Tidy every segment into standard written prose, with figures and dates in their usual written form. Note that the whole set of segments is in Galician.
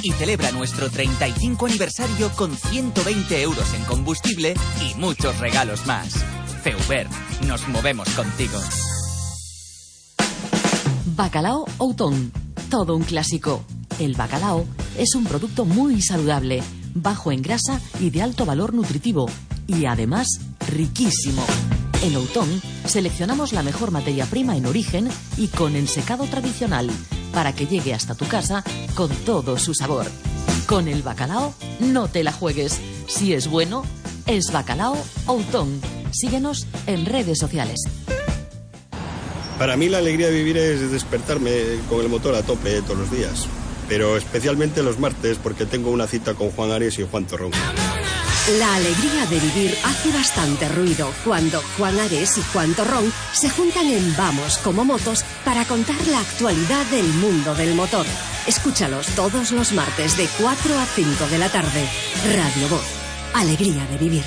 y celebra nuestro 35 aniversario con 120 euros en combustible y muchos regalos más. Feuber, nos movemos contigo. Bacalao Outón, todo un clásico. El bacalao es un producto muy saludable, bajo en grasa y de alto valor nutritivo, y además riquísimo. En Outón seleccionamos la mejor materia prima en origen y con ensecado tradicional, para que llegue hasta tu casa con todo su sabor. Con el bacalao no te la juegues. Si es bueno, es Bacalao Outón. Síguenos en redes sociales. Para mí la alegría de vivir es despertarme con el motor a tope todos los días, pero especialmente los martes porque tengo una cita con Juan Ares y Juan Torrón. La alegría de vivir hace bastante ruido cuando Juan Ares y Juan Torrón se juntan en Vamos como Motos para contar la actualidad del mundo del motor. Escúchalos todos los martes de 4 a 5 de la tarde. Radio Voz. Alegría de vivir.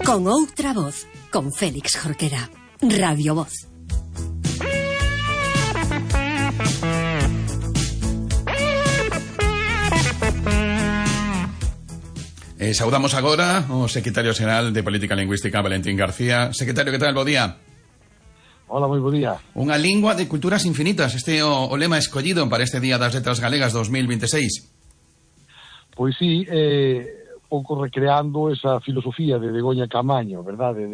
Con outra voz, con Félix Jorquera. Radio Voz. Saudamos agora o secretario xeral de Política Lingüística, Valentín García. Secretario, que tal? Bo día. Hola, moi bo día. Unha lingua de culturas infinitas. Este é o lema escollido para este Día das Letras Galegas 2026. Pois sí, un pouco recreando esa filosofía de Begoña Camaño, verdade?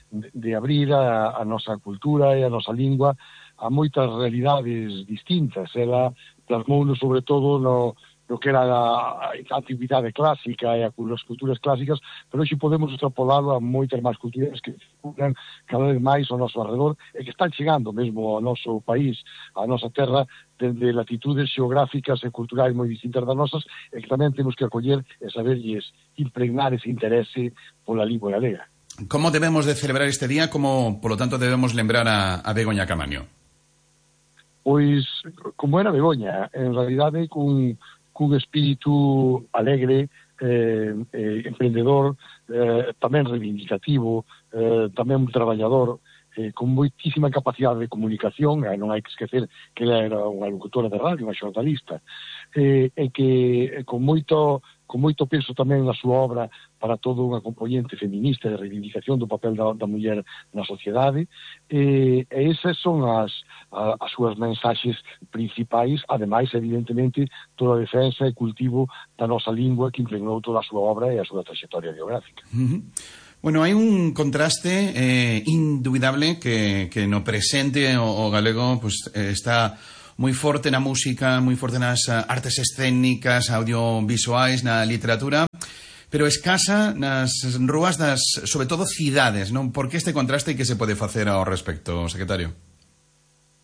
De abrir a nosa cultura e a nosa lingua a moitas realidades distintas. Ela plasmouno sobre todo no que era a antigüidade clásica e as culturas clásicas, pero hoxe podemos extrapolarlo a moitas máis culturas que circulan cada vez máis ao noso alrededor e que están chegando mesmo ao noso país, á nosa terra, dende latitudes xeográficas e culturais moi distintas das nosas, e que tamén temos que acoller e saberlles impregnar ese interese pola lingua galega. Como debemos de celebrar este día? Como, polo tanto, debemos lembrar a Begoña Camaño? Pois, como era Begoña, en realidade cun espírito alegre, emprendedor, tamén reivindicativo, tamén traballador, con moitísima capacidade de comunicación, non hai que esquecer que ela era unha locutora de radio, unha xornalista, e que con moito peso tamén na súa obra para toda unha componente feminista de reivindicación do papel da muller na sociedade, e esas son as súas mensaxes principais, ademais, evidentemente, toda a defensa e cultivo da nosa lingua que impregnou toda a súa obra e a súa trayectoria biográfica. Bueno, hai un contraste indubidable que no presente o galego pues, está moi forte na música, moi forte nas artes escénicas, audiovisuais, na literatura, pero escasa nas rúas das, sobre todo, cidades, non? Por que este contraste e que se pode facer ao respecto, secretario?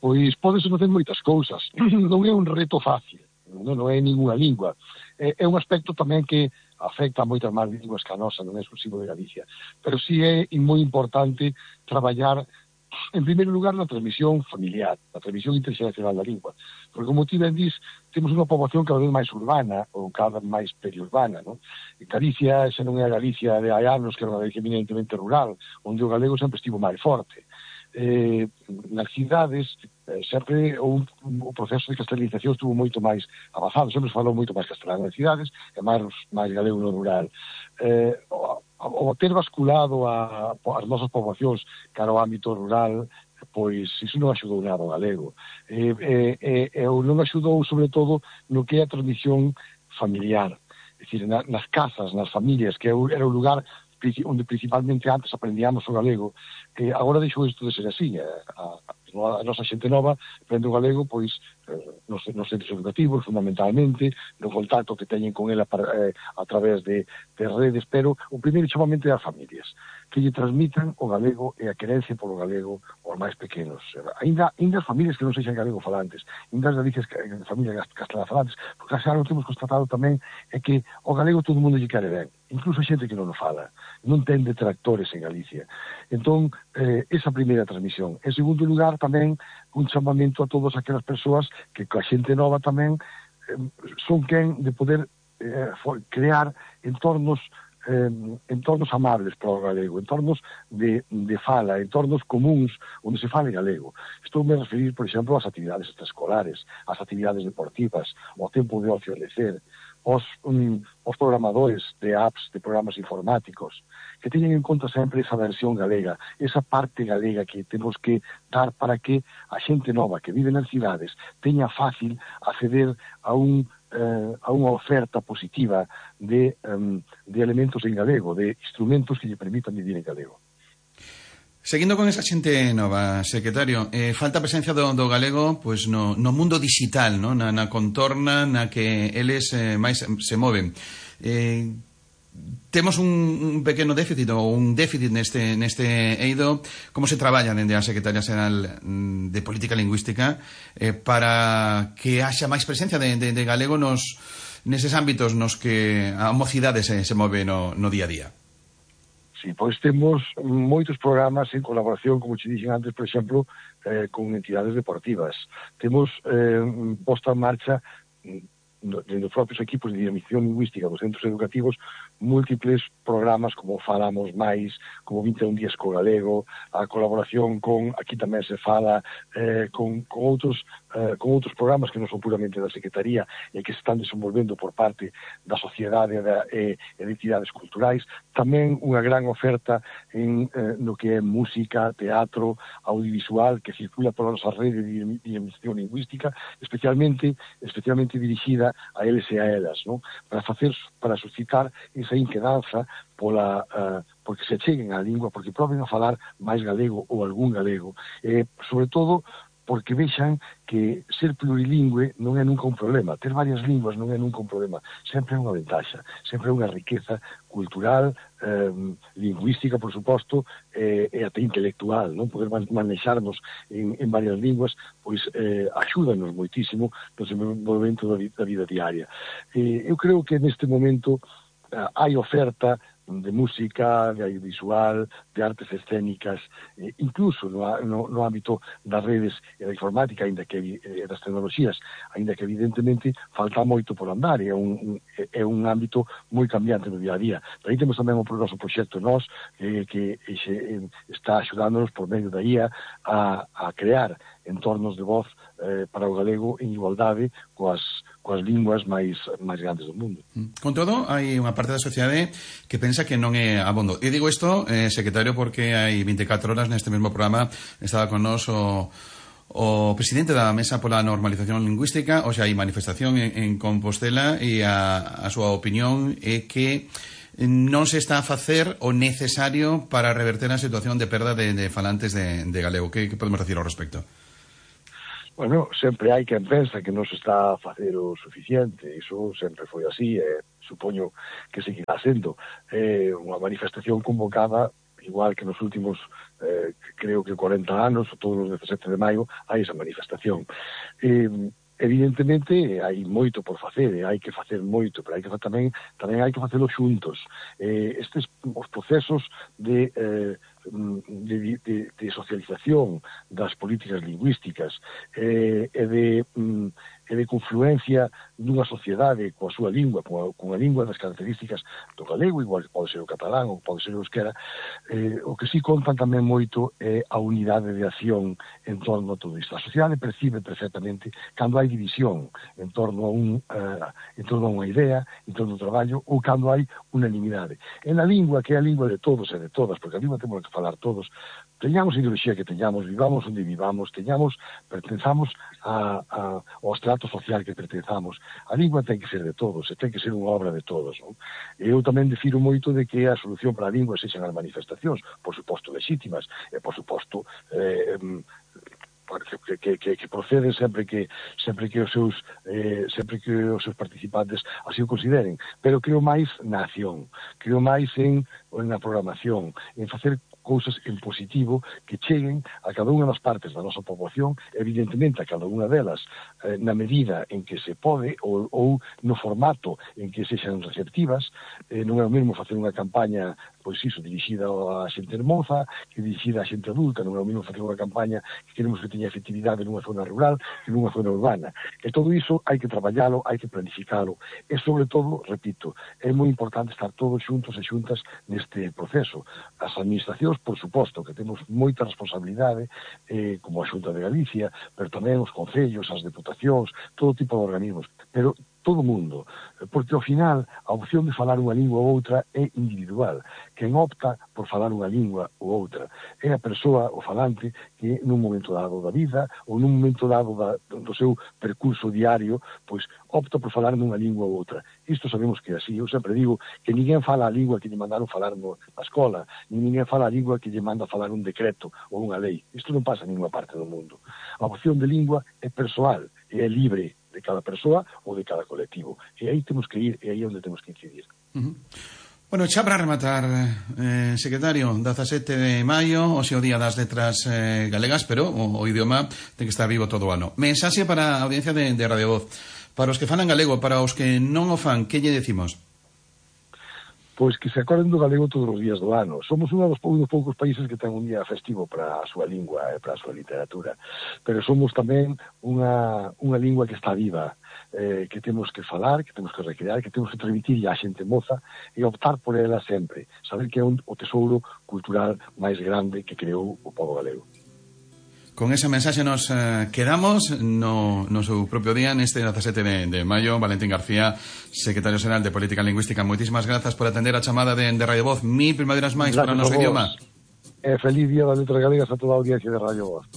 Pois pódese facer moitas cousas. Non é un reto fácil, non é ninguna lingua. É un aspecto tamén que afecta a moitas máis linguas que a nosa, non é exclusivo de Galicia. Pero sí é moi importante traballar, en primeiro lugar, na transmisión familiar, na transmisión interxeracional da lingua. Porque, como ti ben dis, temos unha poboación cada vez máis urbana, ou cada vez máis periurbana, non? En Galicia, xa non é a Galicia de hai anos, que era unha Galicia eminentemente rural, onde o galego sempre estivo máis forte. Nas cidades sempre o proceso de castelanización estuvo moito máis avanzado, sempre se falou moito máis castelán nas cidades e máis galego no rural. O ter basculado as nosas poboacións cara ao ámbito rural, pois iso non axudou nada ao galego, non axudou sobre todo no que é a transmisión familiar, é dicir, nas casas, nas familias, que era o lugar onde principalmente antes aprendíamos o galego. Agora deixou isto de ser así. A nosa xente nova aprende o galego pois nos centros educativos, fundamentalmente, no contacto que teñen con ela a través de redes, pero o primeiro chamamento é as familias, que lle transmitan o galego e a querencia polo galego aos máis pequenos. Ainda as familias que non sexan galego falantes, ainda as familias castelán falantes, porque xa o temos constatado tamén é que o galego todo o mundo lle quere ben, incluso a xente que non o fala, non ten detractores en Galicia. Entón, esa primeira transmisión. En segundo lugar, tamén un chamamento a todas aquelas persoas que coa xente nova tamén son quen de poder crear entornos entornos amables para o galego, entornos de fala, entornos comuns onde se fale galego. Estou me a referir, por exemplo, ás actividades extraescolares, ás actividades deportivas, ao tempo de ocio e lecer, os programadores de apps, de programas informáticos, que teñen en conta sempre esa versión galega, esa parte galega que temos que dar para que a xente nova que vive nas cidades teña fácil acceder a unha oferta positiva de elementos en galego, de instrumentos que lle permitan vivir en galego. Seguindo con esa xente nova, secretario, falta a presencia do galego pois no mundo digital, no? na contorna na que eles máis se moven. Temos un pequeno déficit ou un déficit neste eido. Como se traballa dende a Secretaría Xeral de Política Lingüística para que haxa máis presencia de galego neses ámbitos nos que a mocidade se move no día a día? Sí, pois temos moitos programas en colaboración, como te dixen antes, por exemplo, con entidades deportivas. Temos posta en marcha dentro dos propios equipos de dinamización lingüística dos centros educativos múltiples programas como Falamos Máis, como 21 días co galego, a colaboración con, aquí tamén se fala, con outros programas que non son puramente da Secretaría e que se están desenvolvendo por parte da sociedade e de entidades culturais. Tamén unha gran oferta no que é música, teatro, audiovisual, que circula pola nosa rede de dinamización lingüística, especialmente dirixida a eles e a elas, non? Para suscitar esa inquedanza porque se cheguen á lingua, porque proben a falar máis galego ou algún galego, sobre todo porque vexan que ser plurilingüe non é nunca un problema, ter varias linguas non é nunca un problema, sempre é unha ventaxa, sempre é unha riqueza cultural, lingüística, por suposto, e até intelectual, non? Poder manexarnos en varias linguas, pois axúdanos moitísimo no desenvolvemento da vida diaria. Eu creo que neste momento hai oferta de música, de audiovisual, de artes escénicas, incluso no ámbito das redes e da informática, das tecnoloxías, ainda que evidentemente falta moito por andar, é un ámbito moi cambiante no día a día. Aí temos tamén o noso proxecto NOS, que está axudándonos por medio da IA a crear entornos de voz para o galego en igualdade coas linguas máis grandes do mundo. Con todo, hai unha parte da sociedade que pensa que non é abondo. E digo isto, secretario, porque hai 24 horas neste mesmo programa estaba con nós o presidente da Mesa pola Normalización Lingüística, o sea, hai manifestación en Compostela, e a súa opinión é que non se está a facer o necesario para reverter a situación de perda de falantes de galego. Que podemos decir ao respecto? Bueno, sempre hai quen pensa que non se está a facer o suficiente, iso sempre foi así, supoño que seguirá sendo unha manifestación convocada, igual que nos últimos, creo que 40 anos, todos os 17 de maio, hai esa manifestación. Evidentemente hai moito por facer, hai que facer moito, pero tamén hai que facelo xuntos. Os procesos de socialización das políticas lingüísticas e de confluencia dunha sociedade coa súa lingua, cunha lingua das características do galego, igual que pode ser o catalán ou pode ser o euskera, o que sí contan tamén moito é a unidade de acción en torno a todo isto. A sociedade percibe perfectamente cando hai división en torno a unha idea, en torno ao traballo, ou cando hai unanimidade. En a lingua, que é a lingua de todos e de todas, porque a lingua temos que falar todos, teñamos a ideoloxía que teñamos, vivamos onde vivamos, pertenzamos ao estrato social que pertenzamos. A lingua ten que ser de todos, e ten que ser unha obra de todos, non? Eu tamén defiro moito de que a solución para a lingua sexan as manifestacións, por suposto legítimas, e por suposto que proceden sempre que os seus participantes así o consideren, pero creo máis na acción, creo máis en na programación, en facer cousas en positivo que cheguen a cada unha das partes da nosa poboación, evidentemente a cada unha delas na medida en que se pode ou no formato en que sexan receptivas. Non é o mesmo facer unha campaña pois iso, dirixida a xente hermosa, que dirixida a xente adulta. Non é o mesmo facer unha campaña que queremos que teña efectividade nunha zona rural que nunha zona urbana. E todo iso hai que traballalo, hai que planificalo. E, sobre todo, repito, é moi importante estar todos xuntos e xuntas neste proceso. As administracións, por suposto, que temos moita responsabilidade, como a Xunta de Galicia, pero tamén os concellos, as deputacións, todo tipo de organismos. Pero todo o mundo, porque ao final a opción de falar unha lingua ou outra é individual. Quen opta por falar unha lingua ou outra é a persoa, o falante, que nun momento dado da vida ou nun momento dado do seu percurso diario, pois opta por falar nunha lingua ou outra. Isto sabemos que é así. Eu sempre digo que ninguén fala a lingua que lle mandaron falar na escola, ninguén fala a lingua que lle manda falar un decreto ou unha lei. Isto non pasa en ninguna parte do mundo. A opción de lingua é persoal e é libre de cada persoa ou de cada colectivo. E aí temos que ir, e aí é onde temos que incidir. Bueno, xa para rematar, secretario, 17 de maio, hoxe o Día das Letras Galegas, pero o idioma ten que estar vivo todo o ano. Mensaxe para a audiencia de Radio Voz. Para os que falan galego, para os que non o fan, que lle decimos? Pois que se acorden do galego todos os días do ano. Somos un dos poucos países que ten un día festivo para a súa lingua e para a súa literatura. Pero somos tamén unha lingua que está viva, que temos que falar, que temos que recrear, que temos que transmitir a xente moza e optar por ela sempre. Saber que é o tesouro cultural máis grande que creou o pobo galego. Con ese mensaxe nos quedamos no seu propio día neste 17 de maio. Valentín García, secretario xeral de Política Lingüística, moitísimas grazas por atender a chamada de Radio Voz. Mil primaveras máis para o noso idioma. Feliz Día das Letras Galegas a toda a audiencia de Radio Voz.